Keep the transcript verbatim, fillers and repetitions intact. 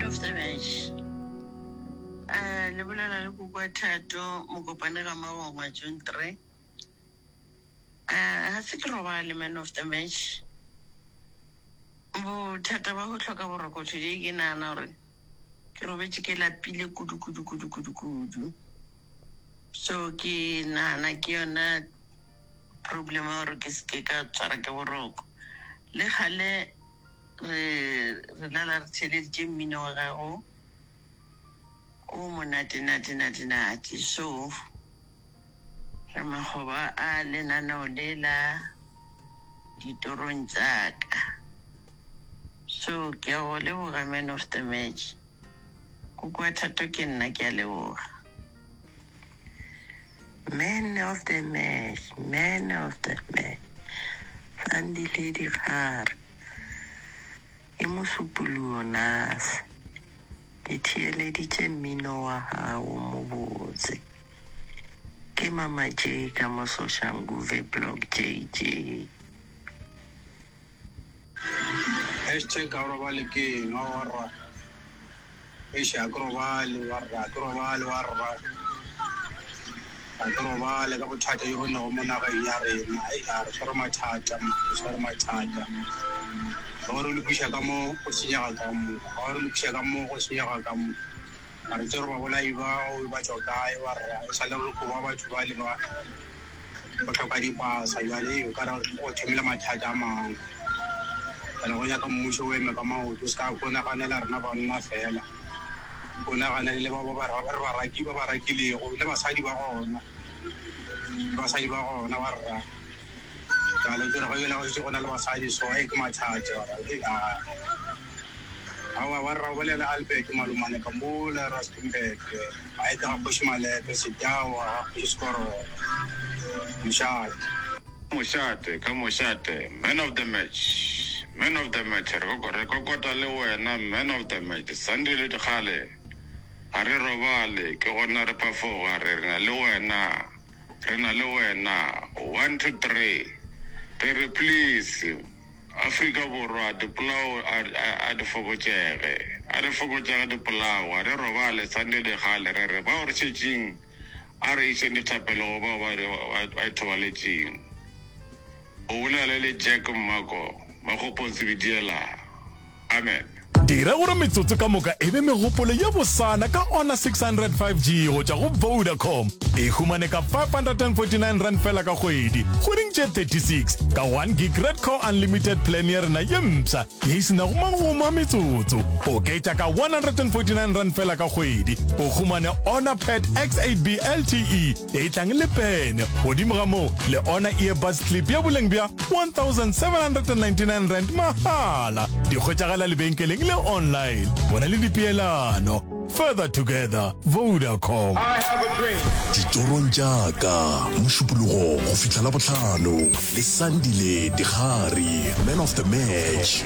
of the match. Uh, le bolela le koko Thato Mokopane ga Magongwa June three. Uh, ga se ke robale man of the match. Bothata ba go hloka boroko today ke nagana gore ke robetše ke lapile kudu kudu kudu kudu kudu. So ke nagana ke yona problem ya gore ke seke ka tshwara ke boroko. Le kgale re re lala re theeleditše mmino wa gago o monate nate nate nate so re makgoba a lenaneo le la ditorong tša ka so ke a go leboga man of the match koko wa Thato ke nna ke a leboga man of the match man of the match Sandile Dikgare ke mosupologo nase ke theeleditše mmino wa gago mo botse ke mama J ka mo Soshanguve block JJ Hashtag ga o robale ke eng warra eish ga ke robale warra ga ke robale warra ga ke robale ka bothata jo bo lego mo nageng ya rena ei a re tshwere mathata re tshwere mathata ga re lokiša ka mo go senyega ka mo ga re lokiša ka mo go senyega ka mo ga re tsebe gore babolai bao ba tšwa kae warra e sa le re koba batho ba le ba go hloka dipasa bjale o ka re go thomile mathata a mangwe ene go nyaka mmušo o eme ka maoto o se ka ko naganela rena banna fela o naganele le ba ba re ba raki ba ba rakilego le basadi ba gona le basadi ba gona ba rra jale tsere go ela go šetše go na le basadi so e ke mathata aowa wa rra o bolela Albert Malomane ka mola Rustenburg a e ka ga kgoši Malepe Setawa ga kgoši Sekorogo mošate Mošate ka mošate man of the match man of the match re re kokota le wena man of the match Sandile Dikgale ga re robale ke gona re phafoga re re na le wena re na le wena one two three re re please Afrika Borwa dipolao a di fokotšege a di fokotšege dipolao ga re robale Sandile Dikgale re re bao re šetšeng a re išeng dithapelo go bao ba ithobaletšeng o bolela le Jack Mmako Makgopong Sebediela amen Dira gore metsotso ka moka e be megopolo ye bosana ka Honor six hundred five G go tšwa go Vodacom. E humane ka five hundred and forty nine rand fela ka kgwedi, kgweding tše thirty six, ka one gig Red Core Unlimited plan ya rena ye mpsha ye e se nago magomo a metsotso. Oketša ka one hundred and forty nine rand fela ka kgwedi, o humane Honor Pad X eight B L T E ye e tlang le pene. Godimo ga moo, le Honor Earbuds Clip ya boleng bja one thousand seven hundred and ninety nine rand mahala. Di hwetšagala lebenkeleng le online. Bona le dipeelano. Further together, Vodacom. Ditorong tša ka, Mošupologo go fihla Labohlano le Sandile Dikgari, man of the match.